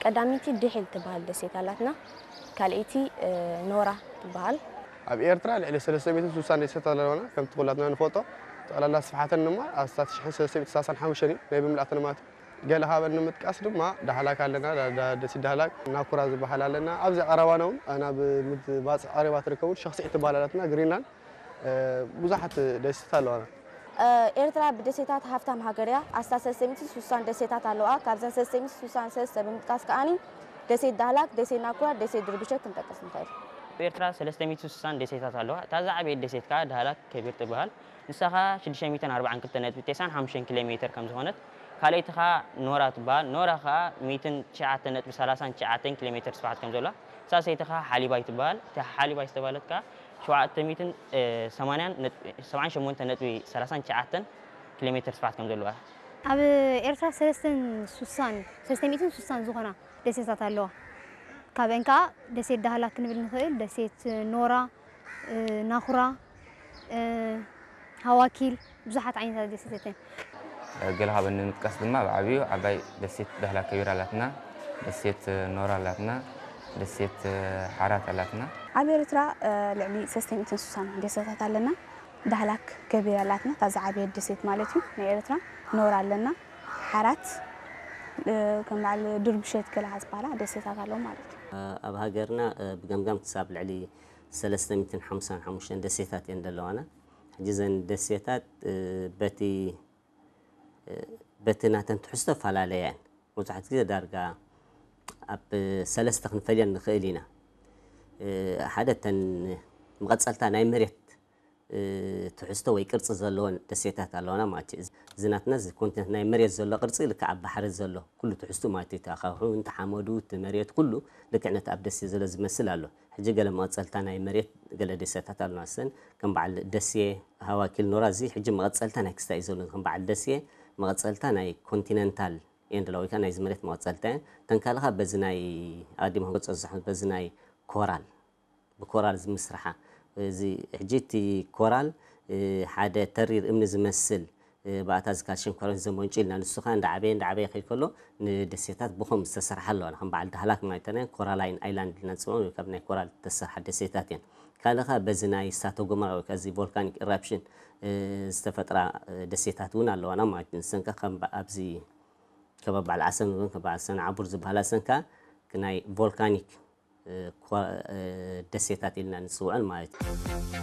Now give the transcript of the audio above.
ቀዳመይቲ ድሒል ትበሃል ደሴት ኣላትና። ካልኣይቲ ኖራ ትበሃል። ኣብ ኤርትራ ልዕሊ ሰለስተ ሚእትን ስሳን ደሴታት ኣለዋና። ከምቲ ኩላትና ንፈልጦ፣ ጠቕላላ ስፍሓተን ድማ ኣስታት ሽሕን ሰለስተ ሚእትን ሰላሳን ሓሙሽተን እዩ፣ ናይ ብምልኣተን ማለት እዩ። ገለ ካብአን ንምጥቃስ ድማ ዳህላክ ኣለና፣ ደሴት ዳህላክ፣ ናኩራ ዝበሃል ኣለና። ኣብዚ ቀረባና እውን ናብ ምባፅሕ ቀረባ ትርከቡ ሸኽሲዕ ትበሃል ኣላትና፣ ግሪንላንድ፣ ብዙሓት ደሴታት ኣለዋና። ኤርትራ ብደሴታት ሃፍታም ሃገር እያ። ኣስታት ሰለስተ ሚእትን ስሳን ደሴታት ኣለዋ። ካብዘን ሰለስተ ሚእትን ስሳን ሰለስተ ብምጥቃስ ከኣኒ ደሴት ዳህላክ፣ ደሴት ናኩራ፣ ደሴት ድርብሸ ክንጠቅስ ንኽእል። ኣብ ኤርትራ ሰለስተ ሚእትን ስሳን ደሴታት ኣለዋ። እታ ዝዓበየት ደሴት ከኣ ዳህላክ ከቢር ትበሃል። ንሳ ኸኣ ሽዱሽተ ሚእትን ኣርባዓን ክልተን ነጥቢ ተስዓን ሓሙሽተን ኪሎ ሜተር ከም ዝኾነት፣ ካልኣይቲ ኸኣ ኖራ ትበሃል። ኖራ ኸኣ ሚእትን ትሽዓተን ነጥቢ ሰላሳን ትሽዓተን ኪሎ ሜተር ስፍሓት ከም ዘለዋ፣ ሳልሰይቲ ኸኣ ሓሊባይ ትበሃል። እታ ሓሊባይ ዝተባህለት ከኣ ሸውዓተ ሚእትን ሰማንያን ነጥቢ ሰብዓን ሸሞንተን ነጥቢ ሰላሳን ትሽዓተን ኪሎ ሜተር ስፍሓት ከም ዘለዋ። ኣብ ኤርትራ ሰለስተን ስሳን ሰለስተ ሚእትን ስሳን ዝኾና ደሴታት ኣለዋ። ካብአን ከኣ ደሴት ዳህላክ ክንብል ንኽእል፣ ደሴት ኖራ፣ ናኹራ፣ ሃዋኪል፣ ብዙሓት ዓይነታት ደሴታት እየን። ገለ ካብአን ንምጥቃስ ድማ ብዓብዩ ዓባይ ደሴት ዳህላክ ከቢር ኣላትና፣ ደሴት ኖራ ኣላትና፣ ደሴት ሓራት ኣላትና። ኣብ ኤርትራ ልዕሊ ሰለስተ ሚእትን ስሳን ደሴታት ኣለና። ዳህላክ ከቢር ኣላትና፣ እታ ዝዓበየት ደሴት ማለት እዩ ናይ ኤርትራ። ኖራ ኣለና፣ ሓራት፣ ከም በዓል ድርብሸት ገለ ዝበሃላ ደሴታት ኣለዉ ማለት እዩ። ኣብ ሃገርና ብገምጋም ክሳብ ልዕሊ ሰለስተ ሚእትን ሓምሳን ሓሙሽተን ደሴታት እየን ዘለዋና። ሕጂ እዘን ደሴታት በቲ በቲ ናተን ትሕዝቶ ፈላለያ እየን። መብዛሕትኡ ግዜ ዳርጋ ኣብ ሰለስተ ክንፈልየን ንኽእል ኢና። ሓደ እተን መቐጸልታ ናይ መሬት ትሕዝቶ ወይ ቅርጺ ዘለወን ደሴታት ኣለዋና ማለት እዩ። እዚ ናትና እዚ ኮንቲነንት ናይ መሬት ዘሎ ቅርጺ ልክዕ ኣብ ባሕሪ ዘሎ ኩሉ ትሕዝቱ ማለት እዩ። እቲ ኣኻውሕ፣ እቲ ሓመዱ፣ እቲ መሬት ኩሉ ልክዕ ነቲ ኣብ ደሴት ዘሎ ዝመስል ኣሎ። ሕጂ ገለ መቐጸልታ ናይ መሬት ገለ ደሴታት ኣለና። እሰን ከም በዓል ደሴ፣ ሃዋኪል፣ ኖራ እዚ ሕጂ መቐጸልታ ናይ ክስታይ እዩ ዘሎ። ከም በዓል ደሴ መቐጸልታ ናይ ኮንቲነንታል እየን ዘለዋ ወይ ከዓ ናይዚ መሬት መቐጸልታ እየን። እተን ካልእ ኸኣ በዚ ናይ ኣቐዲመ ክገልጾ ዝጸሓ በዚ ናይ ኮራል ብኮራል ዝምስርሓ እዚ ሕጂ እቲ ኮራል ሓደ ተሪር እምኒ ዝመስል ብኣታ እዚ ካልሽየም ካርቦኔት ዘመንጩ ኢልና ንሱ ኸኣ እንዳዓበየ እንዳዓበየ ከይድ ከሎ ንደሴታት ብኸምኡ ዝተሰርሓ ኣለዋ። ከም በዓል ዳህላክ ማለት ናይ ኮራላይን ኣይላንድ ኢልና ንፅውዖ ካብ ናይ ኮራል ዝተሰርሓ ደሴታት እየን። ካልእ ኸኣ በዚ ናይ እሳተ ጎመራ ወይ ከዓ እዚ ቮልካኒክ ኢራፕሽን ዝተፈጥራ ደሴታት እውን ኣለዋና ማለት እዩ። ንሰን ከኣ ከም ኣብዚ ከባቢ በዓል ዓሰብ ንብለን ከም በዓል ሰንዓቡር ዝበሃላ ሰን ከኣ ናይ ቮልካኒክ ደሴታት ኢልና ንፅውዐን ማለት እዩ።